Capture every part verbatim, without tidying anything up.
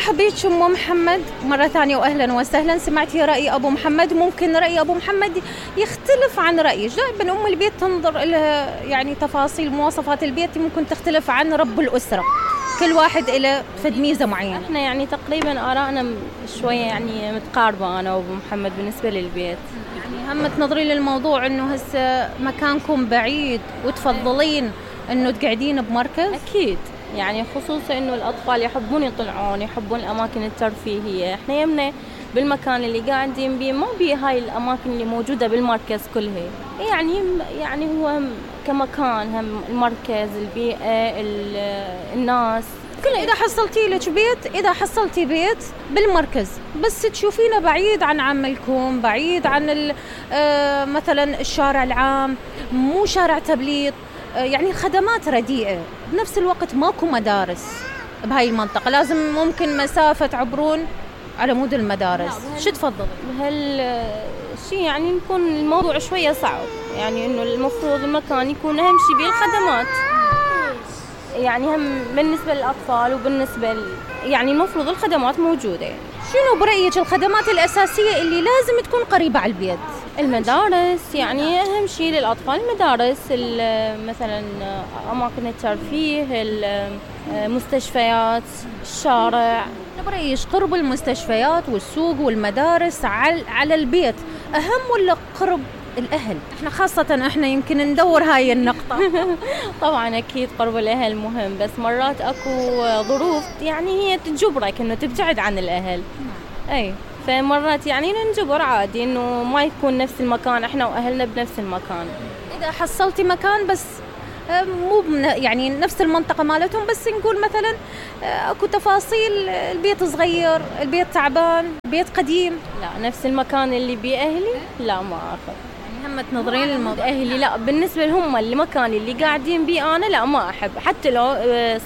مرحبا بك أم محمد مرة ثانية وأهلا وسهلا. سمعتي رأي أبو محمد، ممكن رأي أبو محمد يختلف عن رأيك. دائما أم البيت تنظر إلى يعني تفاصيل مواصفات البيت ممكن تختلف عن رب الأسرة، كل واحد إلى فد ميزة معينة. احنا يعني تقريبا آرائنا شوية يعني متقاربة أنا وأبو محمد بالنسبة للبيت. يعني هم تنظرين للموضوع إنه هسه مكانكم بعيد وتفضلين إنه تقعدين بمركز؟ أكيد، يعني خصوصا إنه الأطفال يحبون يطلعون، يحبون الأماكن الترفيهية. إحنا يمنا بالمكان اللي قاعدين بيه ما بيه هاي الأماكن اللي موجودة بالمركز كلها. يعني يعني هو كمكان هم المركز، البيئة، الناس كل. إذا حصلتي لك بيت، إذا حصلتي بيت بالمركز بس تشوفينه بعيد عن عملكم، بعيد عن آه مثلا الشارع العام، مو شارع تبليط، آه يعني الخدمات رديئة، بنفس الوقت ماكو مدارس بهاي المنطقة، لازم ممكن مسافة تعبرون على مود المدارس. شو تفضل؟ بهالشيء يعني يكون الموضوع شوية صعب، يعني إنه المفروض المكان يكون أهم شيء بيه الخدمات، يعني هم بالنسبة للأطفال وبالنسبة ل... يعني المفروض الخدمات موجودة. شنو برأيك الخدمات الأساسية اللي لازم تكون قريبة على البيت؟ المدارس، يعني أهم شيء للأطفال المدارس، مثلا أماكن الترفيه، المستشفيات، الشارع. برأيك قرب المستشفيات والسوق والمدارس على البيت أهم ولا قرب الأهل؟ إحنا خاصة إحنا يمكن ندور هاي النقطة. طبعا أكيد قرب الأهل مهم، بس مرات أكو ظروف يعني هي تجبرك إنه تبتعد عن الأهل. أي فمرات يعني ننجبر عادي إنه ما يكون نفس المكان إحنا وأهلنا بنفس المكان. إذا حصلتي مكان بس مو يعني نفس المنطقة مالتهم، بس نقول مثلا اكو تفاصيل، البيت صغير، البيت تعبان، البيت قديم، لا نفس المكان اللي بأهلي لا ما أخذ. هم تنظرين للموضوع. أهلي لا، بالنسبة لهم المكان اللي قاعدين بيه أنا لا ما أحب، حتى لو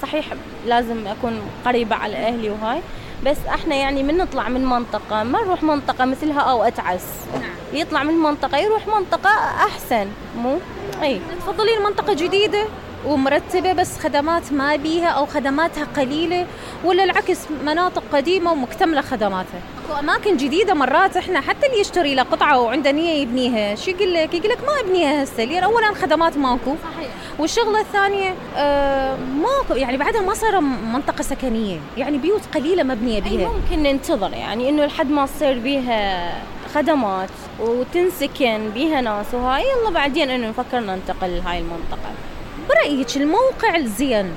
صحيح لازم أكون قريبة على أهلي وهاي، بس احنا يعني من نطلع من منطقة ما نروح منطقة مثلها أو أتعس. نعم. يطلع من منطقة يروح منطقة أحسن، مو أي. تفضلين منطقة جديدة ومرتبة بس خدمات ما بيها أو خدماتها قليلة، ولا العكس مناطق قديمة ومكتملة خدماتها؟ أكو أماكن جديدة مرات إحنا حتى اللي يشتري له قطعة وعنده نية يبنيها شو يقول لك؟ يقول لك ما أبنيها هسه، لأن أولاً خدمات ماكو. صحيح. والشغلة الثانية آه ماكو، يعني بعدها ما صار منطقة سكنية، يعني بيوت قليلة مبنية بيها. ممكن ننتظر يعني إنه لحد ما تصير بيها خدمات وتنسكن بيها ناس وهاي، يلا بعدين إنه نفكر ننتقل لهاي المنطقة. برأيك الموقع الزين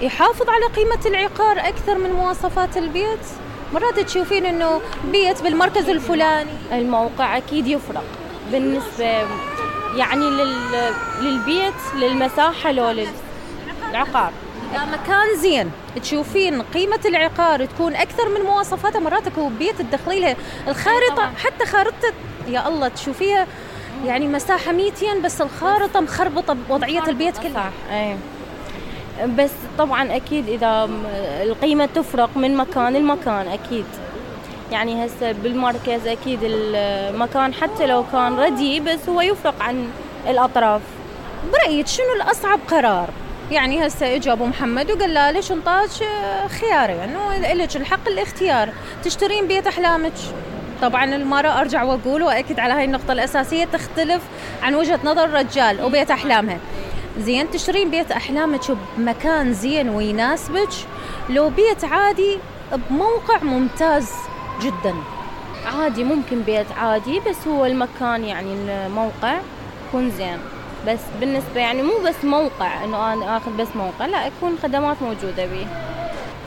يحافظ على قيمة العقار أكثر من مواصفات البيت؟ مرات تشوفين إنه بيت بالمركز الفلاني. الموقع أكيد يفرق بالنسبة يعني لل... للبيت، للمساحة لو للعقار. إذا مكان زين تشوفين قيمة العقار تكون أكثر من مواصفاته. مراتك وبيت تدخلي لها الخارطة، حتى خارطة يا الله تشوفيها يعني مساحة ميتين بس الخارطة مخربطة بوضعية البيت كلها. أي. بس طبعا أكيد إذا القيمة تفرق من مكان لمكان أكيد، يعني هسه بالمركز أكيد المكان حتى لو كان رديء بس هو يفرق عن الأطراف. برأيك شنو الأصعب قرار؟ يعني هسه اجى ابو محمد وقال له ليش انطاك خيارين انه لك الحق الاختيار، تشترين بيت احلامك. طبعا المرأة ارجع واقول واكد على هاي النقطة الاساسية تختلف عن وجهة نظر الرجال وبيت احلامها. زين تشترين بيت احلامك بمكان زين ويناسبك، لو بيت عادي بموقع ممتاز جدا؟ عادي ممكن بيت عادي بس هو المكان يعني الموقع يكون زين، بس بالنسبة يعني مو بس موقع إنه أنا آخذ بس موقع، لا يكون خدمات موجودة بيه.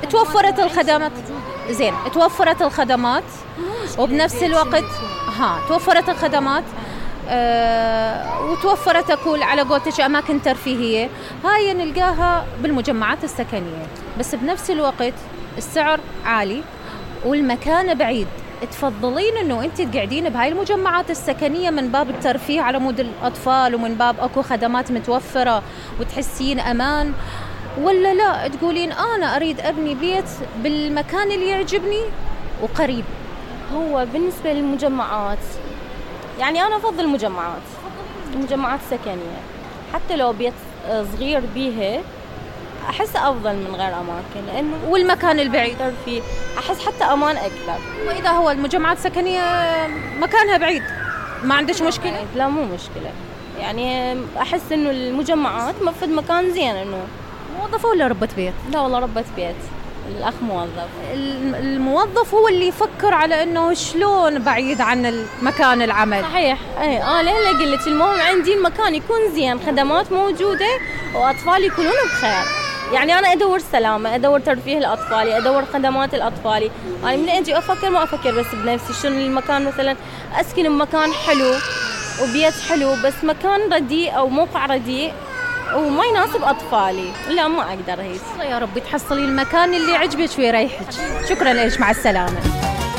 توفرت الخدمات زين، توفرت الخدمات وبنفس الوقت ها توفرت الخدمات أه وتوفرت أقول على قولتك أماكن ترفيهية، هاي نلقاها بالمجمعات السكنية، بس بنفس الوقت السعر عالي والمكان بعيد. تفضلين انه انت تقعدين بهاي المجمعات السكنية من باب الترفيه على مود الاطفال ومن باب اكو خدمات متوفرة وتحسين امان، ولا لا تقولين انا اريد ابني بيت بالمكان اللي يعجبني وقريب؟ هو بالنسبة للمجمعات يعني انا افضل المجمعات، المجمعات السكنية حتى لو بيت صغير بيها احس افضل من غير اماكن، لانه والمكان البعيد فيه احس حتى امان اكثر. واذا هو المجمعات السكنيه مكانها بعيد ما عندش مشكله؟ لا مو مشكله، يعني احس انه المجمعات مفروض مكان زين. انه موظفه ولا ربة بيت؟ لا والله ربة بيت، الاخ موظف. الموظف هو اللي يفكر على انه شلون بعيد عن المكان العمل. صحيح. اي اه ليه قلت المهم عندي المكان يكون زين، خدمات موجوده، واطفال يكونون بخير. يعني انا ادور سلامه، ادور ترفيه لاطفالي، ادور خدمات لاطفالي. انا من اجي افكر ما افكر بس بنفسي، شنو المكان مثلا اسكن بمكان حلو وبيت حلو، بس مكان رديء او موقع رديء وما يناسب اطفالي، لا ما اقدر. هيك يا رب تحصلي المكان اللي يعجبك ويريحك. شكرا لك، مع السلامه.